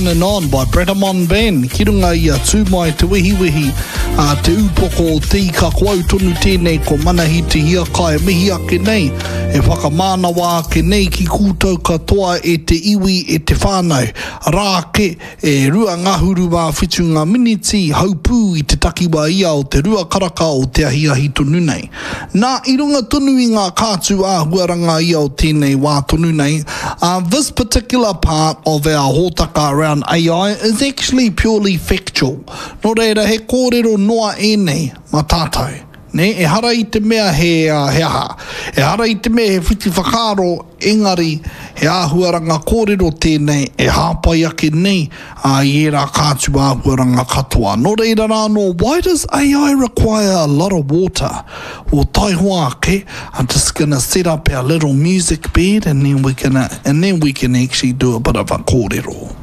On and On by Bratamon Band ki runga i a Tū Mai Te Wehiwehi, a Te Ūpoko o Te Ika, ko au tonu tēnei ko Manahi Te Hiakai e mihi ake nei, e whakamānawa ake nei ki koutou katoa e te iwi, e te whānau. Rā ake, E 27 ngā miniti haupū i te takiwā ia o te rua karaka o te ahiahi tonu nei. Nā, i runga tonu i ngā kātū āhuaranga ia o tēnei wā tonu nei, uh, this particular part of our hōtaka around AI is actually purely factual. Nō reira, he kōrero noa ēnei mā tātou. Nē, ehara i te mea he, he aha. Ehara i te mea he whiti whakaaro, engari he āhuaranga kōrero tēnei e hāpai ake nei i ērā kātū āhuaranga katoa. Nō reira rā anō, why does AI require a lot of water? Well, taihoa ake, I'm just gonna set up our little music bed and then we're gonna, and then we can actually do a bit of a kōrero.